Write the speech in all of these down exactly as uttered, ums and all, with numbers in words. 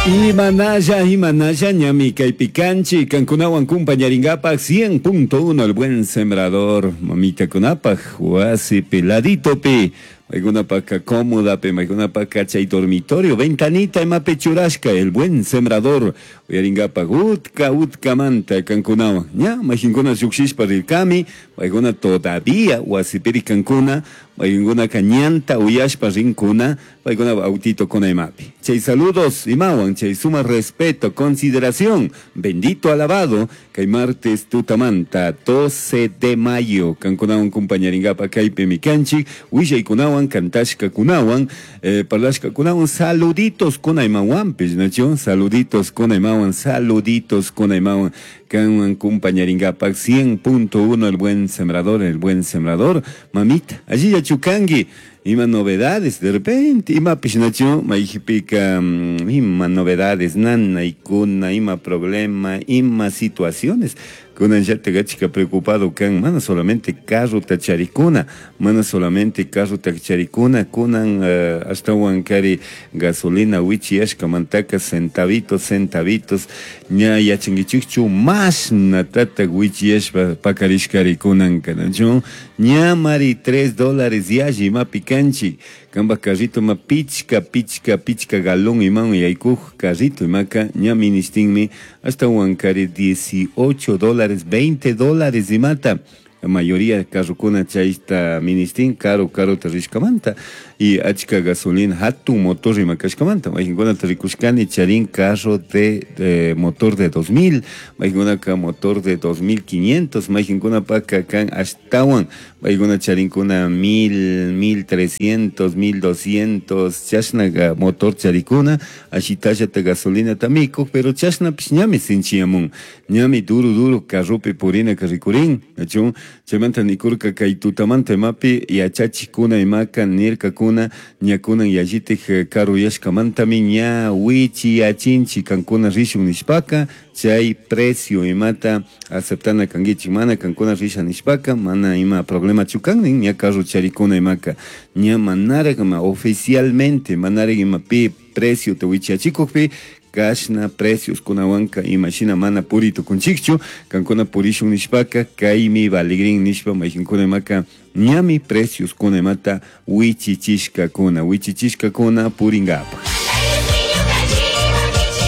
Imanalla, imanalla, ñami kaypi kanchik, kankunawan kumpañarinkapak cien punto uno, El Buen Sembrador, mamita kunapaj wasipi laditopi, maykunapaka cómodapi, maykunapaka chay dormitorio, ventanita imapi churashka, El Buen Sembrador, uyarinkapak utka utkamanta kankunawan, ña mayjinkuna llukshishpa rirkami, maykuna todavía wasipiri kankuna, maykunaka ñanta uyashpa rinkuna, paykuna autito kuna imapi. Chay saludos imawan, chay suma respeto, consideración, bendito, alabado, kay martes tutamanta, doce de mayo, kankunawan kumpañarinkapak kaypimi kanchik, willaykunawan, kantashkakunawan, eh, parlashkakunawan, saluditos kuna imawanpish, nachu? Saluditos kuna imawan, saluditos kuna imawan, kanwan kumpañarinkapak cien punto uno, El Buen Sembrador, El Buen Sembrador, mamita, allí yachukangi, ima novedades, de repente, ima pishnachu, mayjipika, mm, ima novedades, nanaykuna, ima problema, ima situaciones, kunan llata achka preocupado kan, mana solamente carro charikuna, mana solamente carro charikuna, kunan uh, ashtawan kari gasolina wichiyashkamantaka centavitos, centavitos, ña yachankichikchu mashnatata wichiyashpa pakarishkari kunan kanachu, ña mari tres dólares yalli imapi kanchik, kamba carrito ma pichka, pichka, pichka galón iman yaykuj carrito imaka ña ministinmi ashtawan kari dieciocho dólares, veinte dólares imata. La mayoría carrokuna chayta ministin caro caro rishkamanta y achka gasolina hatun motor ima kashkamanta. Mayqinkunata rikushkani charin carro de, de motor de dos mil, mayqinkunaka motor de dos mil quinientos, mayqinkunapaka kan ashtawan, paykuna charinkuna mil, mil trescientos, mil doscientos, chashna motor charikuna, ashitallata gasolina mikuj, pero chashnapish ñami sinchiyamun, ñami duro duro carropi purina rikurin, nachu? Chaymanta nikurka kay tutamanta imapi yachachikuna imaka nirkakuna ñakunan yallitik karuyashkamantami ña wichiyachinchik kankuna rishun nishpaka chay precio imata aceptana kankichik, mana kankuna risha nishpaka mana ima problema kan nin. Ña carro charikuna imaka ña manarak ima oficialmente manarak ima pi precio te wichiyachikukpi kashna precios kunawanka imashina mana puri tukunchikchu, kankuna purishun nishpaka kaymi valigrin nishpa mayqinkuna imaka ñami precios kuna imata wichichishkakuna wichichishkakuna purinkapak.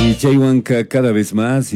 Y chaywanka cada vez más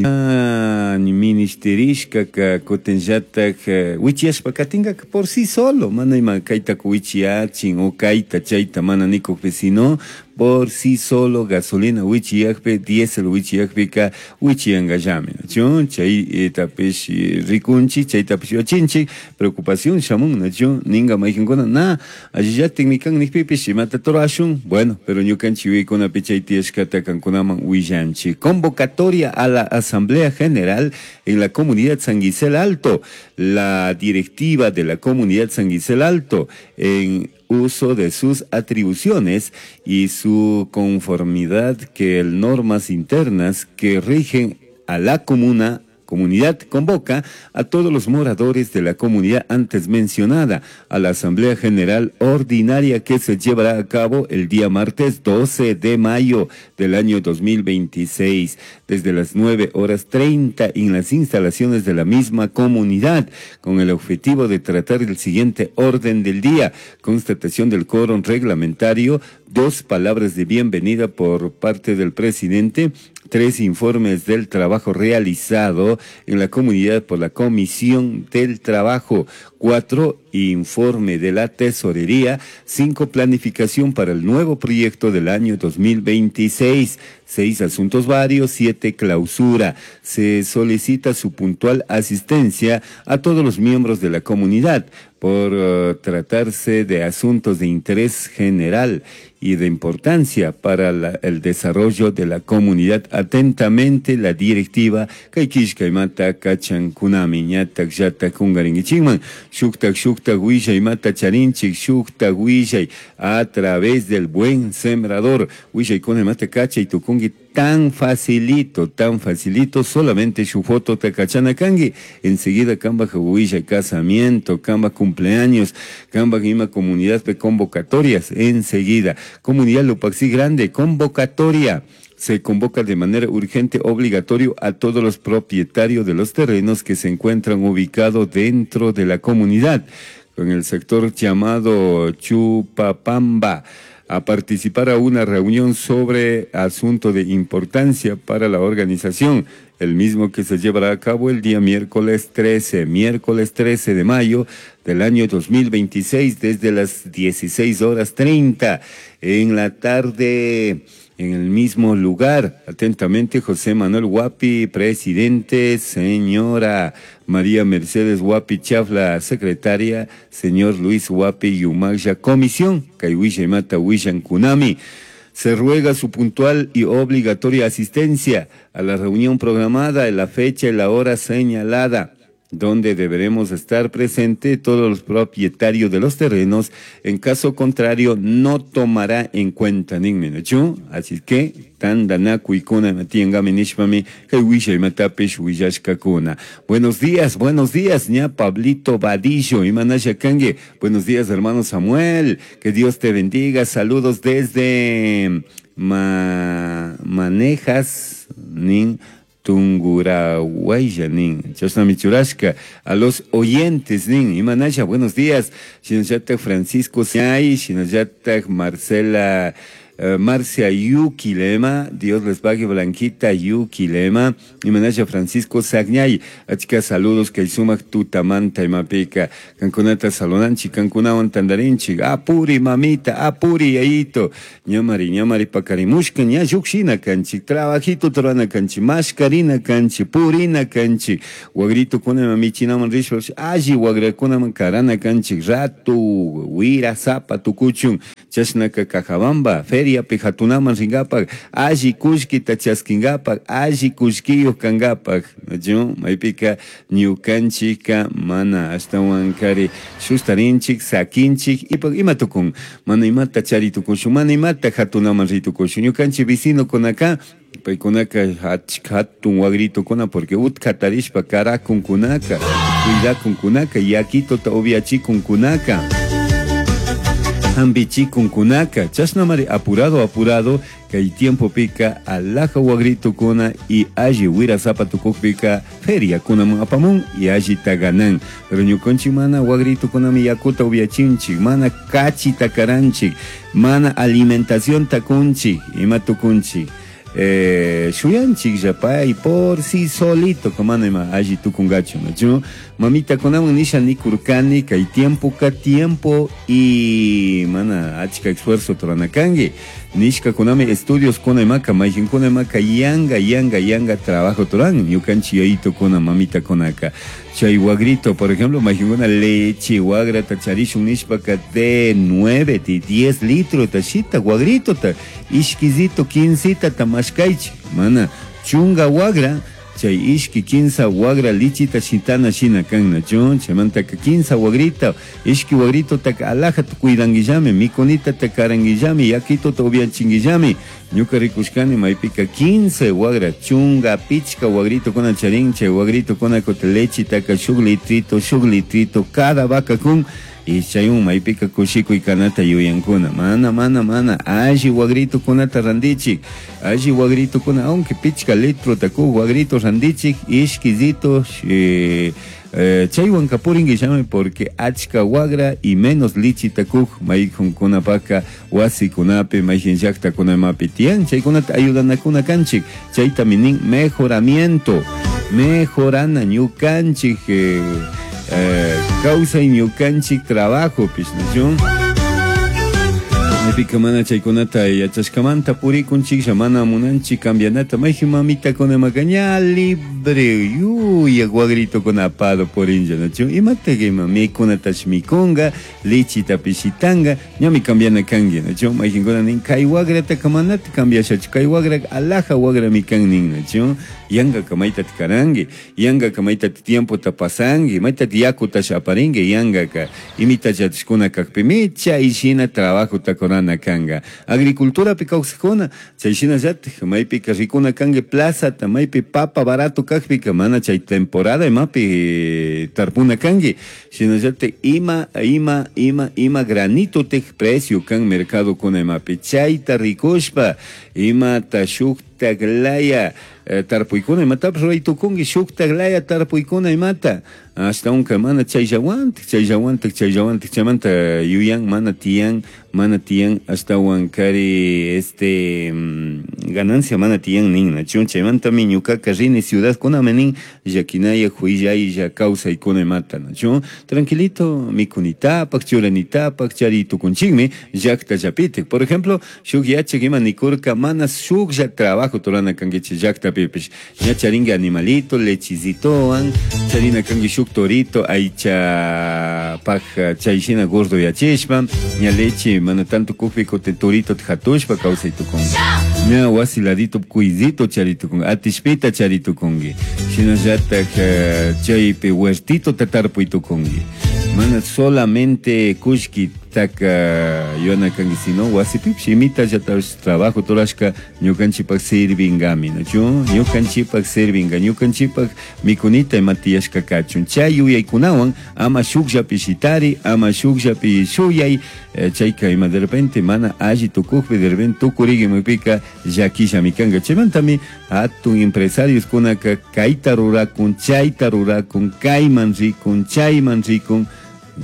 ministerishkaka kutinllatak wichiyashpa katingaka por sí solo, mana ima kayta wichiyachin o kayta chayta mana nikukpi, sino por sí solo gasolina wichiyakpi, diésel wichiyakpika wichiyankallami, nachu? Chaytapish rikunchik, chaytapish yachinchik, preocupación shamun, nachu? Ninga mayqinkuna na allillatikmi kan nikpipish imata rurashun. Bueno, pero ñukanchik yuyaykunapi chay tiyashkata kankunaman willanchik. Convocatoria a la Asamblea General en la comunidad San Guisel Alto. La directiva de la comunidad San Guisel Alto, en uso de sus atribuciones y su conformidad que el normas internas que rigen a la comuna comunidad, convoca a todos los moradores de la comunidad antes mencionada a la Asamblea General Ordinaria que se llevará a cabo el día martes doce de mayo del año dos mil veintiséis desde las nueve horas treinta en las instalaciones de la misma comunidad, con el objetivo de tratar el siguiente orden del día: constatación del quórum reglamentario, dos, palabras de bienvenida por parte del presidente, tres, informes del trabajo realizado en la comunidad por la Comisión del Trabajo, cuatro, informe de la tesorería, cinco, planificación para el nuevo proyecto del año dos mil veintiséis, seis, asuntos varios, siete, clausura. Se solicita su puntual asistencia a todos los miembros de la comunidad por uh, tratarse de asuntos de interés general y de importancia para la, el desarrollo de la comunidad. Atentamente, la directiva. Kay killkaimata kachankunami ñatak llatak kungarinkichikman shuktak shuktak willaymata charinchik, shuktak willay a través del Buen Sembrador, willaykuna imata kachay tukunki tan facilito, tan facilito, solamente su foto te kachana kanki, enseguida kambaj willay casamiento, kambaj cumpleaños, kambaj ima comunidad de convocatorias, enseguida. Comunidad Lupaxi Grande, convocatoria. Se convoca de manera urgente obligatorio a todos los propietarios de los terrenos que se encuentran ubicados dentro de la comunidad, en el sector llamado Chupapamba, a participar a una reunión sobre asunto de importancia para la organización, el mismo que se llevará a cabo el día miércoles trece, miércoles trece de mayo del año dos mil veintiséis, desde las dieciséis horas treinta en la tarde, en el mismo lugar. Atentamente, José Manuel Huapi, presidente, señora María Mercedes Huapi Chafla, secretaria, señor Luis Huapi Yumaya, comisión, Kaiwisha Imata Wishan Kunami. Se ruega su puntual y obligatoria asistencia a la reunión programada en la fecha y la hora señalada, donde deberemos estar presente todos los propietarios de los terrenos. En caso contrario, no tomará en cuenta ningún. Así que, tandanaku ikuna matiangami nishpami, kay wishay matapish willashkakuna. Buenos días, buenos días, ña Pablito Vadillo, imanasha kangue. Buenos días, hermano Samuel, que Dios te bendiga. Saludos desde ma, Manejas, nin Tungurahuaya, nin chashnami churashka. A los oyentes, nin imanasha, buenos días. Shinallatak Francisco Siay, shinallatak Marcela, Uh, Marcia Yuki Lema, Dios les pague, Blanquita Yuki Lema, imanasha Francisco Sagñay, achka saludos kay sumak tutamanta imapika, kankunata salunanchi, kankunawan tandarinchi, apuri mamita, apuri yayito, ñamari, ñamari pakarimushka, ña llukshina kanchi, trabajito torana kanchi, mashkarina kanchi, purina kanchi, wagrito kunama michinaman rishpa, alli wagrakunaman karana kanchi, ratu, wira, zapa, tukuchun, chashnaka Cajabamba, feria pijatunaman ringapak, alli kullkita chaskingapak, alli kullkiyuq kangapak, ¿no? Maypika ñukanchika mana ashtawankari shustarinchik, sakinchik, ipak ima tukun, mana imata chari tukushun, mana imata hatunaman ritukushun, ñukanchik vecinokunaka, paykunaka hatun wagritukuna, porque utkatarishpa karakunkunaka, cuidakunkunaka, yakituta upiachikunkunaka, hambichikunkunaka, chashnamari apurado, apurado, kay tiempo pika alaja wagritukuna y alli wira zapatukukpika feria kunaman apamun y alli taganan. Pero ñukanchik mana wagritukunami yakuta upiachinchik, mana kachita karanchik, mana alimentación takunchik, ima tukunchik. Eh, shuyanchik yapay por sí solito, como ima alli tukungachu, ¿no? Mamita kunaman nisha nikurkani, kay tiempo ka tiempo y mana achka esfuerzo toranakangi. Nishka kunami estudios kuna imaka, mayhin kuna imaka, yanga, yanga, yanga trabajo toran, ñukanchi yayito kuna mamita kunaka. Chay wagrito, por ejemplo, mayhin kuna leche, wagra tacharishun nishpaka de nueve, de diez litros, tashita, wagrito, ta, ishkizito, quincita, tamashkaichi, mana, chunga wagra, chay ishki quinza wagra lichita shitana shina kanna chun, chaymantaka quinza wagrita, ishki wagrito taka alaja tukuidanguillami, mikunita takaranguillami, yakito upiachinguillami. Ñuka rikushkani maypika quince wagra, chunga pichka wagrito kuna charin, chay wagrito kuna kote lechitaka shuk litrito, shuk litrito, cada vaca kun, y chayun maypika kushikuy kanata yuyankuna, mana, mana, mana, alli wagrito kunata randichik, alli wagrito kuna, aunque pichka litro taku wagrito randichik, ishkizito, eh, eh, chaywan kapuringuillami porque achka wagra y menos lichi takuj mayjunkunapaka wasikunapi mayjin llaqtakunamapi tiyan, chaykunata ayudanakuna kanchik, chayta minin mejoramiento, mejorana ñukanchik, eh, Eh, kawsay ñukanchik trabajo pish, ¿no? Maypika mana chaykunata yachashkamanta purikunchik, mana munanchik cambianata, mayjin mamita kunamaka ña libre, yuya wagrito kunapado purinlla, ¿no? Imata ima mikunatash mikunga, lichita pishitanga, ñami cambiana kangi, ¿no? Mayjinkuna nin kay wagrata manata cambiashachu, kay wagra alaja wagra mikan nin, ¿no? Yanga maytata karangi, yanga maytata tiempota pasangi, maytata yakutash aparingi, yangaka imita yachashkuna kakpimi, chay shina trabajota korana kanga. Agricultura pi kawsakuna, chay shinallatik, maypika rikuna kangi plazata, maypi papa barato kakpika, mana chay temporada imapi tarpuna kangi, shinallatik ima, ima, ima, ima granito tek precio kan mercado kuna imapi, chayta rikushpa, imata shuk Shuktak laya eh, tarpuykuna imatapish ruray tukunki, shuktak laya tarpuykuna imata. Ashtawanka mana chayllawantik, chayllawantik, chayllawantik, chaymanta yuyan mana tiyan, mana tiyan, ashtawankari este mm, ganancia mana tiyan nin, nachu? Chaymantami ñukaka rini ciudadkunaman nin, llakinaya huillaylla kawsaykuna imata, nachu? Tranquilito mikunitapak, churanitapak chari tukunchikmi llaktallapitik. Por ejemplo, shuk yachak ima nikurka, mana shuklla trabajo turana kankichik llaktapipish. Ña charinki animalito, lechizitowan, charina kanki shuk torito, aychapak chayshina gordo yachishpa, ña leche mana tanto kukpi kutin torito hatushpa kawsay tukunki. Ña wasi ladito cuidito chari tukunki, atishpita chari tukunki. Shinallatak chaypi huertito tarpuy tukunki. Mana solamente kullki taka yuyana kanki, sino wasipipish imitallatapish trabajo turashka ñukanchikpak sirvingami, nachu? Ñukanchikpak sirvinga, ñukanchikpak mikunita ima tiyashka kachun. Chay yuyaykunawan ama shukllapi shitari, ama shukllapi shuyay, eh, chayka ima de repente mana alli tukukpi, de repente tukurigimipika llakillami kanka. Chaymantami hatun empresarios kunaka kayta rurakun, chayta rurakun, kayman rikun, chayman rikun.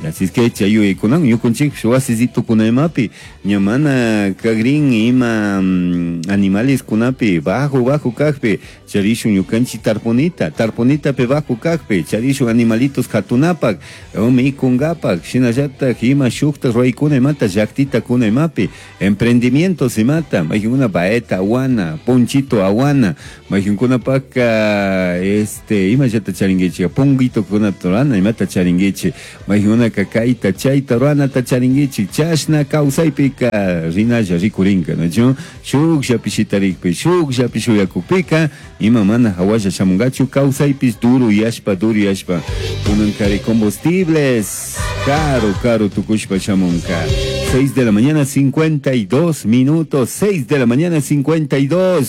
Así es que chay yuyaykunan ñukanchik wasisitukunaimapi ña mana kagrin ima mm, animales kunapi bajo bajo kakpi charishun ñukanchik tarpunita, tarpunitapi bajo kakpi charishun animalitos katunapak mikungapak, shinallatak ima shukta ruraykuna imata llaktita kuna imapi emprendimientos imata mayqinkuna baeta awana, ponchito awana, mayqinkunapaka este imallata charinkichik, ponguitokunata rurana imata charinkichik, mayqinkunaka kayta chayta ruranata charinkichik, chashna kawsaypika rinalla rikurinka, nachu? Shukllapi shitarikpi, shukllapi shuyakukpika ima mana hawalla shamunkachu kawsaypish duro yashpa, duro yashpa kunankari combustibles caro, caro tukushpa shamunka. seis de la mañana cincuenta y dos minutos, seis de la mañana cincuenta y dos.